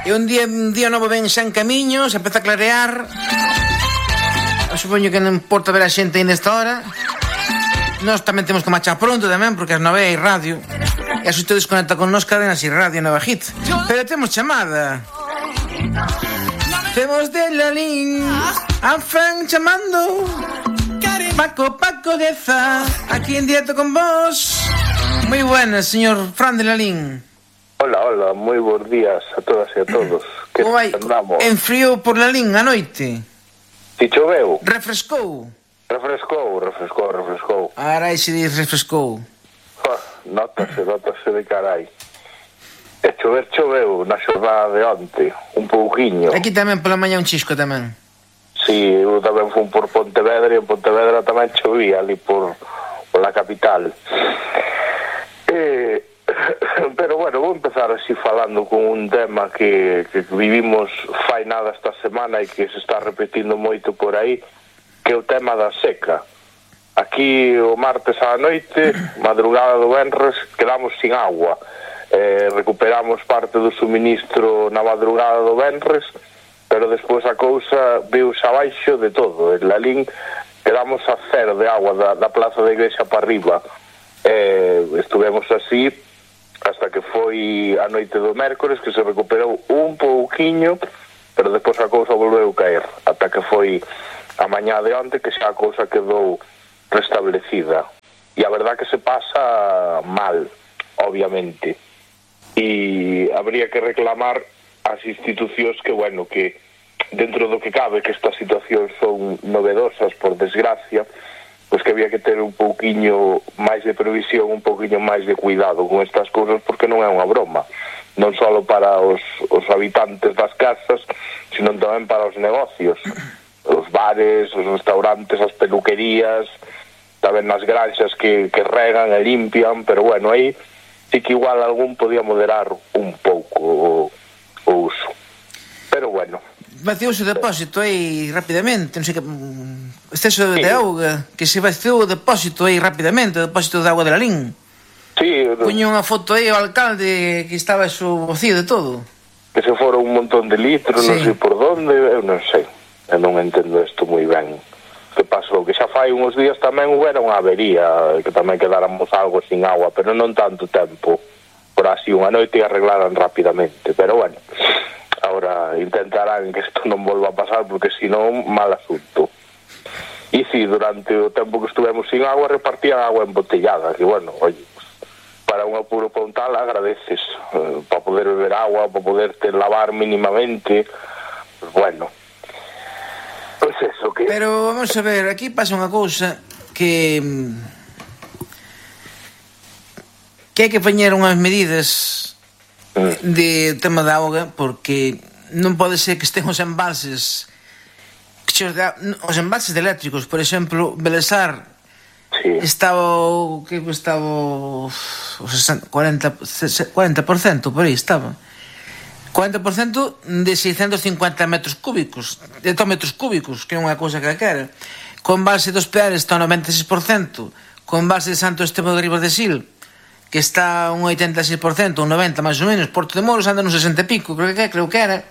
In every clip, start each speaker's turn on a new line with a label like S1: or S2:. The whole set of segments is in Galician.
S1: E un día novo ven xa en camiño, se empeza a clarear. Eu supoño que non importa ver a xente ainda esta hora. Nós tamén temos que marchar pronto tamén, porque as 9 hai radio. E a xusto desconecta con nos cadena así radio Nova Hit. Pero temos chamada. Temos de Lalín a Fran chamando. Paco Deza, aquí en directo con vos. Moi buenas, señor Fran de Lalín.
S2: Hola, moi bons días a todas e a todos. Que andamos?
S1: En frío por Lalín a noite.
S2: Si choveu?
S1: Refrescou. Arai se diz refrescou.
S2: Notase de carai. E choveu na xornada de onte, un pouquiño.
S1: Aquí tamén pola mañá un chisco tamén.
S2: Si, eu tamén fui por Pontevedra e en Pontevedra tamén chovía ali por la capital. Pero bueno, vou empezar así falando con un tema que vivimos fai nada esta semana e que se está repetindo moito por aí, que é o tema da seca. Aquí o martes á noite, madrugada do venres, quedamos sin agua. Recuperamos parte do suministro na madrugada do venres, pero despois a cousa viuse abaixo de todo. En Lalín quedamos a cero de agua da plaza da igrexa para arriba. Estuvemos así hasta que foi a noite do mércores, que se recuperou un pouquiño, pero despois a cousa volveu caer, ata que foi a mañá de onte que xa a cousa quedou restablecida. E a verdad que se pasa mal, obviamente, e habría que reclamar as institucións que, bueno, que dentro do que cabe, que estas situacións son novedosas, por desgracia, pois que había que ter un pouquiño máis de previsión, un pouquiño máis de cuidado con estas cousas, porque non é unha broma, non só para os habitantes das casas, sino tamén para os negocios, os bares, os restaurantes, as peluquerías, tamén nas granxas que regan e limpian, pero bueno, aí sí que igual algún podía moderar un pouco o uso. Pero bueno.
S1: Vaciouse o depósito aí rapidamente, non sei que exceso de auga, que se vaciou o depósito aí rapidamente, o depósito de auga de Lalín.
S2: Sí.
S1: Puño unha foto aí ao alcalde que estaba eso vacío de todo.
S2: Que se fora un montón de litros, sí. Non sei por donde, eu non sei. Eu non entendo isto moi ben. Que pasou? Que xa fai uns días tamén houbera unha avería, que tamén quedáramos algo sin agua, pero non tanto tempo. Por así unha noite arreglaran rapidamente, pero bueno, ahora intentarán que isto non volva a pasar, porque senón mal asunto. E si, durante o tempo que estuvemos sin agua repartían agua embotellada, que bueno, oye, para un apuro pontal agradeces, para poder beber agua, para poderte lavar mínimamente, pues bueno, pues eso que...
S1: Pero vamos a ver, aquí pasa unha cousa que hai que poñer unhas medidas de tema da auga, porque non pode ser que estén os embalses os embalses eléctricos, por exemplo, Belesar, sí. Estaba o 40% por aí estaba 40% de 650 metros cúbicos, de 2 metros cúbicos, que é unha cousa que quera. Con embalse dos Peares está o 96%, con embalse de Santo Esteban de Ribas de Sil, que está un 86%, un 90% máis ou menos, Porto de Moros anda un 60 e pico, creo que era.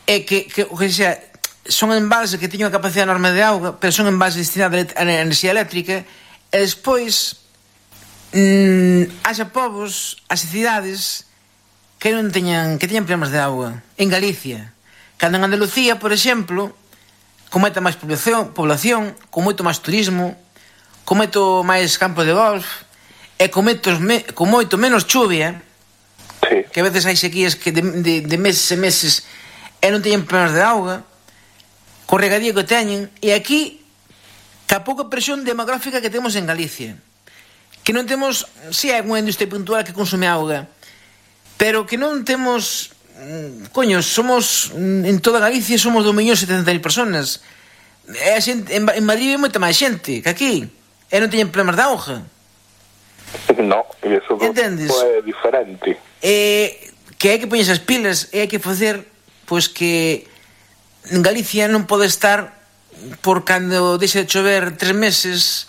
S1: E que xa, son embalses que teñen unha capacidade enorme de auga, pero son embalses destinados a enerxía eléctrica, e despois haxa povos, as cidades que non teñan problemas de auga. En Galicia, cando en Andalucía, por exemplo, con moita máis población, con moito máis turismo, con moito máis campo de golf, e con moito menos chuvia, sí. Que a veces hai sequías que de meses e meses e non teñen problemas de auga, co regadío que teñen, e aquí ca pouca presión demográfica que temos en Galicia, que non temos, si hai unha industria puntual que consume auga, pero que non temos, somos en toda Galicia somos 2.070.000 personas, e a xente, en Madrid é moita máis xente que aquí, e non teñen problemas de auga.
S2: No, e iso é diferente.
S1: Que hai que poñer esas pilas, e hai que facer pois que en Galicia non pode estar por cando deixa de chover 3 meses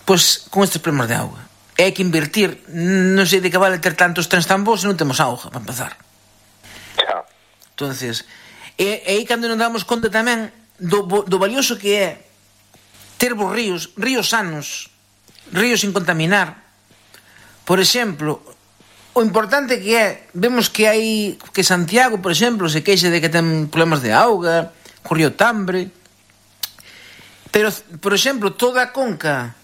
S1: pois con estes problemas de auga. E hai que invertir, non sei de que vale ter tantos trens tan bons se non temos auga, para empezar. Entonces, e aí cando nos damos conta tamén do valioso que é ter bons ríos sanos, ríos sin contaminar. Por exemplo, o importante que é, vemos que hai que Santiago, por exemplo, se queixa de que ten problemas de auga, co río Tambre, pero, por exemplo, toda a conca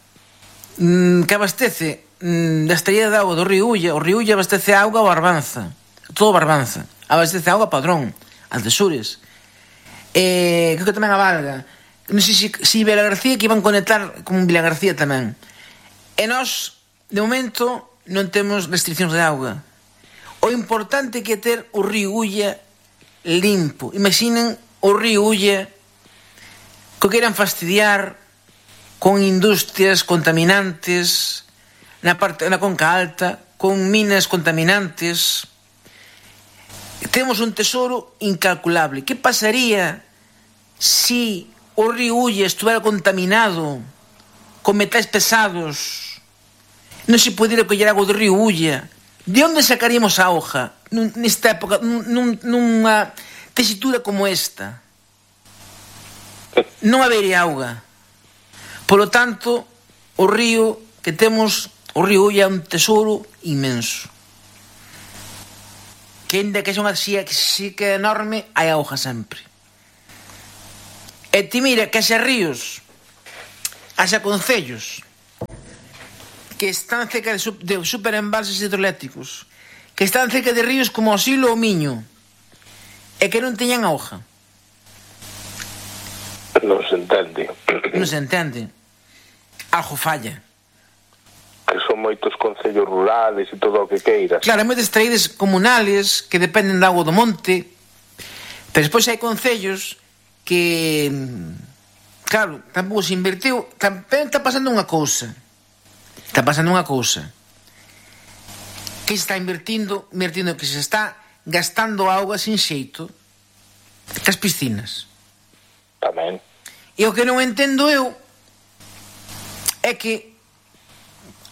S1: que abastece da estrella de auga do río Ulla, o río Ulla abastece auga ao Barbanza, todo Barbanza, abastece auga a Padrón, Altesures, creo que tamén a Valga, non sei se Vila García, que iban conectar con Vila García tamén. E nós, de momento, non temos restriccións de auga. O importante que é ter o río Ulla limpo. Imaginen o río Ulla que queiran fastidiar con industrias contaminantes na conca alta, con minas contaminantes. Temos un tesoro incalculable. Que pasaría si o río Ulla estuvera contaminado con metais pesados? Non se pudiera coller agua do río Ulla. De onde sacaríamos a auga nesta época, nunha tesitura como esta? Non habería auga. Polo tanto, o río que temos, o río Ulla, é un tesouro inmenso. Que ainda que son así, que sí que é enorme, hai auga sempre. E ti mira que haxa ríos, haxa concellos que están cerca de superembalses hidroeléctricos, que están cerca de ríos como o Silo ou o Miño, e que non teñan auga.
S2: Non se entende.
S1: Non se entende. Algo falla.
S2: Que son moitos concellos rurales e todo o que queiras.
S1: Claro, hai moitas traídas comunales que dependen da auga do monte, pero despois hai concellos que, claro, tampouco se invertiu. Tamén está pasando unha cousa. Que se está invertindo que se está gastando auga sin xeito cas piscinas.
S2: Tamén.
S1: E o que non entendo eu é que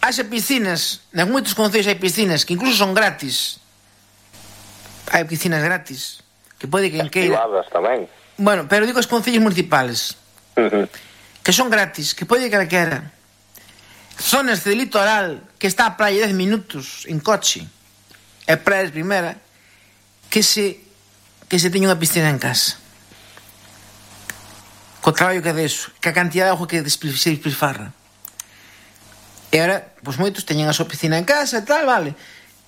S1: haxa piscinas, en moitos concellos hai piscinas que incluso son gratis. Hai piscinas gratis que pode quen queira.
S2: Privadas tamén.
S1: Bueno, pero digo os concellos municipales, que son gratis, que pode quen queira. Zonas de litoral que está a praia 10 minutos en coche, e praia de primeira, que se teña unha piscina en casa. Co traballo que é deso, que a cantidad de auga que se despilfarra. E agora, pois moitos teñen a súa piscina en casa e tal, vale.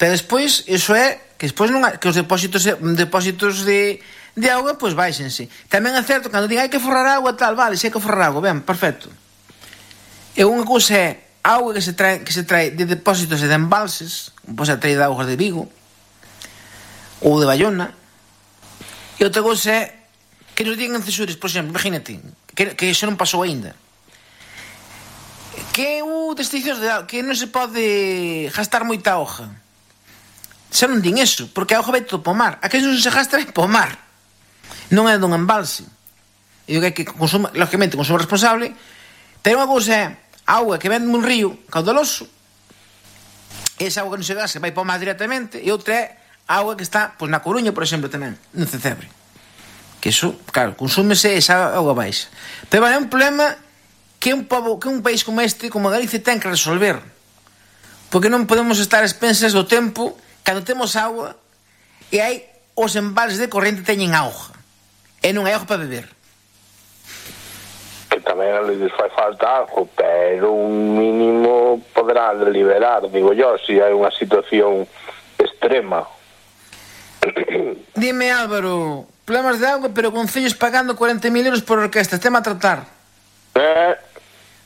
S1: Pero despois, iso é que despois non que os depósitos de auga, pois baixense. Tamén é certo, cando digan hai que forrar auga, tal, vale, se hai que forrar auga, ben, perfecto. E unha cousa é auga que se trae de depósitos e de embalses, como pode ser traída de augas de Vigo ou de Bayona. E outra cousa é que nos digan en Cesures, por exemplo, imagínate, que iso non pasou aínda, que restriccións de auga, que non se pode gastar moita auga. Xa non din eso, porque a auga vai todo po mar. A que non se gasta vai po mar, non é dun embalse. E o que hai que consumir, lógicamente, consumo responsable. Pero unha cousa é auga que vende un río caudaloso, esa auga que non se gasta vai po mar directamente, e outra é auga que está, pois, na Coruña, por exemplo, tamén, no Cecebre. Que iso, claro, consúmese esa auga baixa. Pero é un problema que un país como este, como Galicia, ten que resolver. Porque non podemos estar a expensas do tempo cando temos auga e hai os embalses de corrente teñen auga e non hai auga para beber.
S2: Que tamén les fai falta algo, pero un mínimo poderá liberar, digo yo, se hai unha situación extrema.
S1: Dime, Álvaro, problemas de auga, pero concellos pagando 40.000 euros por orquesta, tema a tratar.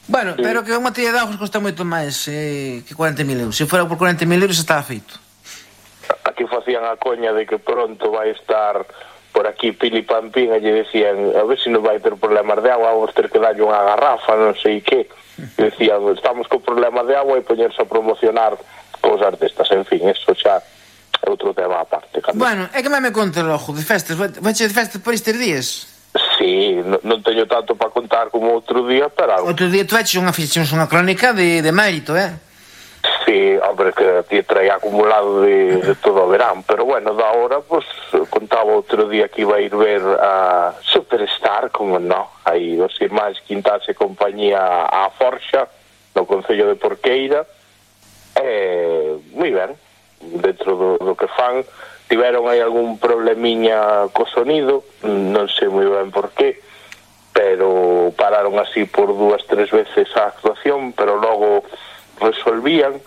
S1: Bueno, sí. Pero que unha tilla de augas costa moito máis que 40.000 euros. Se fora por 40.000 euros estaba feito.
S2: Aquí facían a coña de que pronto vai estar por aquí Pili Pampín, e lle decían, a ver se non vai ter problemas de agua, vamos ter que darlle unha garrafa, non sei que. E decían, estamos con problemas de agua, e poñerse a promocionar cousas destas, en fin, eso xa é outro tema aparte.
S1: Bueno, é que me conta logo de festas, vache de festas por estes días?
S2: Sí, non teño tanto para contar como outro día, pero...
S1: Outro día tu vaches unha crónica de mérito,
S2: Sí, hombre, que ti traía acumulado de todo o verán, pero bueno, da hora, pues, contaba outro día que iba a ir ver a Superstar, como no, aí os irmáns Quintás e compañía a Forxa, no Concello de Porqueira, moi ben, dentro do que fan, tiveron aí algún problemiña co sonido, non sei moi ben por qué, pero pararon así por 2-3 veces a actuación, pero logo resolvían.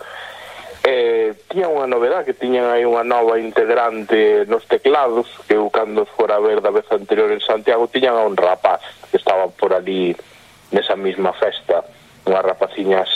S2: Tiñan unha novedade, que tiñan aí unha nova integrante nos teclados, que eu cando fora a ver da vez anterior en Santiago tiñan a un rapaz que estaba por ali nesa mesma festa, unhas rapaciñas